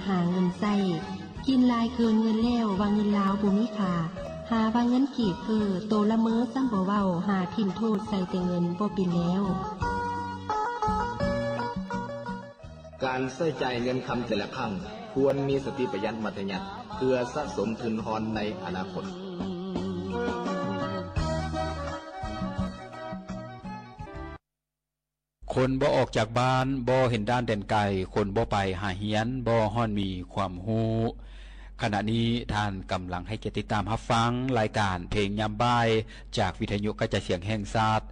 ຫາເງິນໃຊ້ ກິນຫຼາຍເກີນເງິນແລ້ວ ວ່າເງິນລາວບໍ່ມີຄ່າ ຫາວ່າເງິນກີບເຟີ້ ໂຕລະເມີຊ້ຳບໍ່ເວົ້າ ຫາຖິ້ມໂທດໃສ່ແຕ່ເງິນບໍ່ເປັນແລ້ວ. ການໃຊ້ຈ່າຍເງິນຄຳແຕ່ລະຄັ້ງ ຄວນມີສະຕິປະຢັດມັດທະຍັດ ເພື່ອສະສົມທຶນຮອນໃນອະນາຄົດ. ຄົນບໍ່ອອກຈາກບ້ານ ບໍ່ເຫັນດ່ານແດນໄກ, ຄົນບໍ່ໄປຫາຮຽນ ບໍ່ຮອດມີຄວາມຮູ້. ຂະນະນີ້ທ່ານກຳລັງໃຫ້ກຽດຕິດຕາມຮັບຟັງລາຍການເພງຍາມບ່າຍ ຈາກວິທະຍຸກະຈາຍສຽງແຫ່ງຊາດ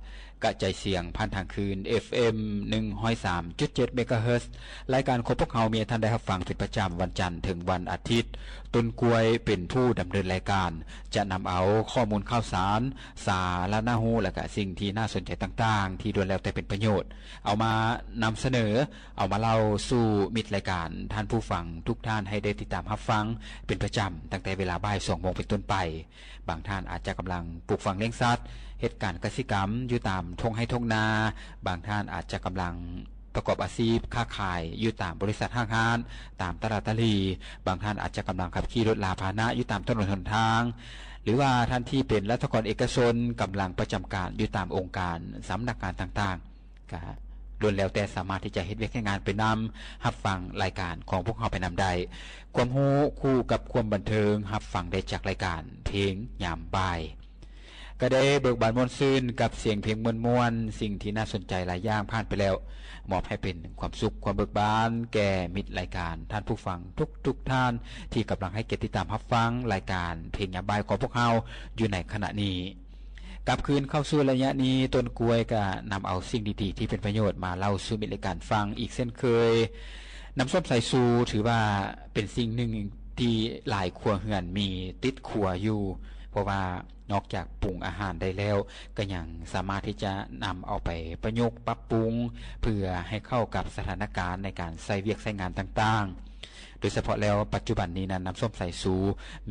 ກະຈາຍສຽງຜ່ານທາງຄື້ນ ເອັຟເອັມ ໜຶ່ງຮ້ອຍສາມຈຸດເຈັດ ເມກາເຮີດ. ລາຍການຂອງພວກເຮົາມີໃຫ້ທ່ານໄດ້ຮັບຟັງເປັນປະຈຳວັນຈັນເຖິງວັນອາທິດ. ຕົ້ນກ້ວຍເປັນຜູ້ດຳເນີນລາຍການ ຈະນຳເອົາຂໍ້ມູນຂ່າວສານ ສາລະນະຮູ້ ແລະກະສິ່ງທີ່ໜ້າສົນໃຈຕ່າງໆ ທີ່ລ້ວນແລ້ວແຕ່ເປັນປະໂຫຍດ ເອົາມານຳສະເໜີ ເອົາມາເລົ່າສູ່ມິດລາຍການ ທ່ານຜູ້ຟັງທຸກທ່ານໃຫ້ໄດ້ຕິດຕາມຮັບຟັງເປັນປະຈຳ ຕັ້ງແຕ່ເວລາບ່າຍສອງໂມງເປັນຕົ້ນໄປ. ບາງທ່ານອາດຈະກຳລັງປູກຝັງລ້ຽງສັດ, ເຮັດການກະສິກຳຢູ່ຕາມທົ່ງໄຮ່ທົ່ງນາ, ບາງທ່ານອາດຈະກຳລັງປະກອບອາຊີບຄ້າຂາຍຢູ່ຕາມບໍລິສັດຫ້າງຮ້ານ, ຕາມຕະຫຼາດຕະຫຼີ່, ບາງທ່ານອາດຈະກຳລັງຂັບຂີ່ລົດລາພາຫະນະຢູ່ຕາມຖະໜົນຫົນທາງ, ຫຼືວ່າທ່ານທີ່ເປັນລັດຖະກອນເອກະຊົນກຳລັງປະຈຳການຢູ່ຕາມອົງການ, ສຳນັກງານຕ່າງໆ. ກະລ້ວນແລ້ວແຕ່ສາມາດທີ່ຈະເຮັດວຽກເຮັດງານໄປນຳ, ຮັບຟັງລາຍການຂອງພວກເຮົາໄປນຳໄດ້. ຄວາມຮູ້ຄູ່ກັບຄວາມບັນເທີງ ຮັບຟັງໄດ້ຈາກລາຍການເພງຍາມບ່າຍ. ກະໄດ້ເບີກບານມ່ວນຊື່ນກັບສຽງເພງມ່ວນໆ, ສິ່ງທີ່ໜ້າສົນໃຈຫຼາຍຢ່າງຜ່ານໄປແລ້ວ, ມອບໃຫ້ເປັນຄວາມສຸກຄວາມເບີກບານແກ່ມິດລາຍການ, ທ່ານຜູ້ຟັງທຸກໆທ່ານທີ່ກຳລັງໃຫ້ກຽດຕິດຕາມຮັບຟັງລາຍການເພງຍາມບ່າຍຂອງພວກເຮົາຢູ່ໃນຂະນະນີ້. ກັບຄືນເຂົ້າສູ່ໄລຍະນີ້, ຕົ້ນກ້ວຍກະນຳເອົາສິ່ງດີໆທີ່ເປັນປະໂຫຍດມາເລົ່າສູ່ມິດລາຍການຟັງອີກເຊັ່ນເຄີຍ. ນ້ຳສົ້ມສາຍຊູຖືວ່າເປັນສິ່ງໜຶ່ງທີ່ຫຼາຍຄົວເຮືອນມີຕິດຄົວຢູ່, ເພາະວ່ານອກຈາກປຸງອາຫານໄດ້ແລ້ວ, ກະຍັງສາມາດທີ່ຈະນຳເອົາໄປປະຍຸກປັບປຸງ ເພື່ອໃຫ້ເຂົ້າກັບສະຖານະການໃນການໃຊ້ວຽກໃຊ້ງານຕ່າງໆ. ໂດຍສະເພາະແລ້ວ ປັດຈຸບັນນີ້ນັ້ນ ນ້ຳສົ້ມສາຍຊູ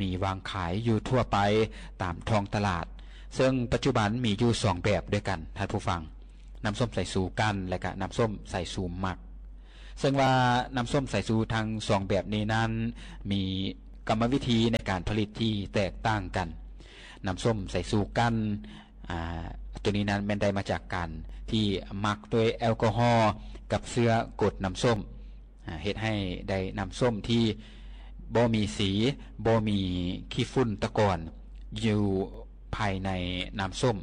ມີວາງຂາຍຢູ່ທົ່ວໄປຕາມທ້ອງຕະຫຼາດ, ເຊິ່ງປັດຈຸບັນມີຢູ່ສອງແບບດ້ວຍກັນ ທ່ານຜູ້ຟັງ, ນ້ຳສົ້ມສາຍຊູກັ່ນ ແລະກະນ້ຳສົ້ມສາຍຊູໝັກ. ເຊິ່ງວ່ານ້ຳສົ້ມສາຍຊູທັງສອງແບບນີ້ນັ້ນ ມີກຳມະວິທີໃນການຜະລິດທີ່ແຕກຕ່າງກັນ. ນ້ຳສົ້ມສາຍຊູກັ່ນ ອາ ໂຕນີ້ນັ້ນແມ່ນໄດ້ມາຈາກການທີ່ໝັກດ້ວຍແອລກໍຮໍກັບເຊື້ອກົດນ້ຳສົ້ມ. ອາ ເຮັດໃຫ້ໄດ້ນ້ຳສົ້ມທີ່ບໍ່ມີສີ, ບໍ່ມີຂີ້ຝຸ່ນຕະກອນຢູ່ພາຍໃນນ້ຳສົ້ມ,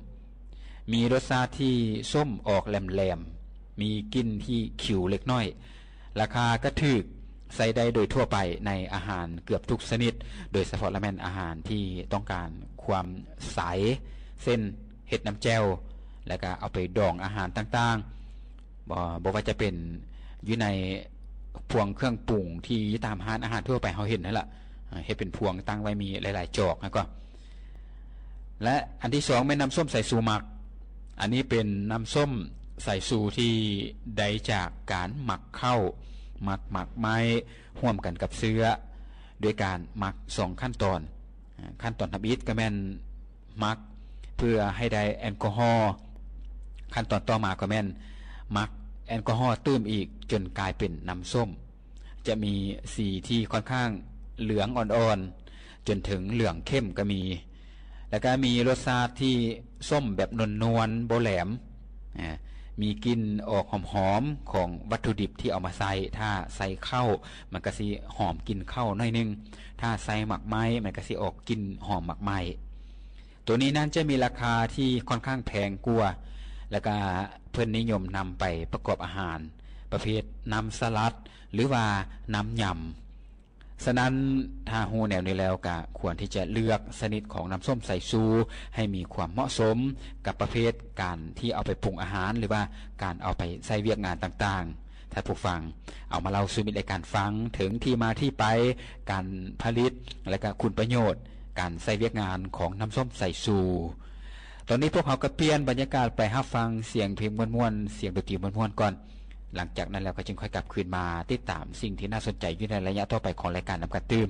ມີລົດຊາດທີ່ສົ້ມອອກແຫຼມໆ, ມີກິ່ນທີ່ຂິວເລັກນ້ອຍ, ລາຄາກະຖືກ, ໃຊ້ໄດ້ໂດຍທົ່ວໄປໃນອາຫານເກືອບທຸກຊະນິດ, ໂດຍສະເພາະລະແມ່ນອາຫານທີ່ຕ້ອງການຄວາມໃສ, ເຊັ່ນ ເຮັດນ້ຳແຈ່ວ ແລ້ວກະເອົາໄປດອງອາຫານຕ່າງໆ. ບໍ່ ບໍ່ວ່າຈະເປັນຢູ່ໃນພວງເຄື່ອງປຸງທີ່ຢູ່ຕາມຮ້ານອາຫານທົ່ວໄປເຮົາເຫັນຫັ້ນລະ, ເຮັດເປັນພວງຕັ້ງໄວ້ມີຫຼາຍໆຈອກຫັ້ນກໍ. ແລະ ອັນທີສອງແມ່ນນ້ຳສົ້ມສາຍຊູໝັກ. ອັນນີ້ເປັນນ້ຳສົ້ມສາຍຊູທີ່ໄດ້ຈາກການໝັກເຂົ້າ, ໝັກໝາກໄມ້ຮ່ວມກັນກັບເຊື້ອ ດ້ວຍການໝັກສອງຂັ້ນຕອນ. ຂັ້ນຕອນທຳອິດກໍແມ່ນ ໝັກເພື່ອໃຫ້ໄດ້ແອລກໍຮໍ, ຂັ້ນຕອນຕໍ່ມາກໍແມ່ນໝັກແອລກໍຮໍຕື່ມອີກຈົນກາຍເປັນນ້ຳສົ້ມ, ຈະມີສີທີ່ຄ່ອນຂ້າງເຫຼືອງອ່ອນໆ ຈົນເຖິງເຫຼືອງເຂັ້ມກໍມີ, ແລ້ວກໍມີລົດຊາດທີ່ສົ້ມແບບນວນໆ ບໍ່ແຫຼມ, ອາ ມີກິ່ນອອກຫອມໆຂອງວັດຖຸດິບທີ່ເອົາມາໃຊ້. ຖ້າໃສ່ເຂົ້າ ມັນກໍຊິຫອມກິ່ນເຂົ້າໜ້ອຍໜຶ່ງ, ຖ້າໃສ່ໝາກໄມ້ ມັນກໍຊິອອກກິ່ນຫອມໝາກໄມ້. ໂຕນີ້ນັ້ນຈະມີລາຄາທີ່ຄ່ອນຂ້າງແພງກວ່າ ແລ້ວກະເພິ່ນນິຍົມນຳໄປປະກອບອາຫານປະເພດນ້ຳສະຫຼັດ ຫຼືວ່ານ້ຳຍຳ. ສະນັ້ນ ຖ້າຮູ້ແນວນີ້ແລ້ວ ກະຄວນທີ່ຈະເລືອກຊະນິດຂອງນ້ຳສົ້ມສາຍຊູໃຫ້ມີຄວາມເໝາະສົມກັບປະເພດການທີ່ເອົາໄປປຸງອາຫານ ຫຼືວ່າການເອົາໄປໃຊ້ວຽກງານຕ່າງໆ. ທ່ານຜູ້ຟັງ ເອົາມາເລົ່າສູ່ມິດລາຍການຟັງເຖິງທີ່ມາທີ່ໄປ, ການຜະລິດ ແລະກະຄຸນປະໂຫຍດການໃຊ້ວຽກງານຂອງນ້ຳສົ້ມສາຍຊູ. ຕອນນີ້ພວກເຮົາກໍປ່ຽນບັນຍາກາດໄປຮັບຟັງສຽງເພງມ່ວນໆ, ສຽງດົນຕີມ່ວນໆກ່ອນ. ຫຼັງຈາກນັ້ນແລ້ວກໍຈຶ່ງຄ່ອຍກັບຄືນມາຕິດຕາມສິ່ງທີ່ໜ້າສົນໃຈຢູ່ໃນໄລຍະຕໍ່ໄປຂອງລາຍການນຳກັນຕື່ມ.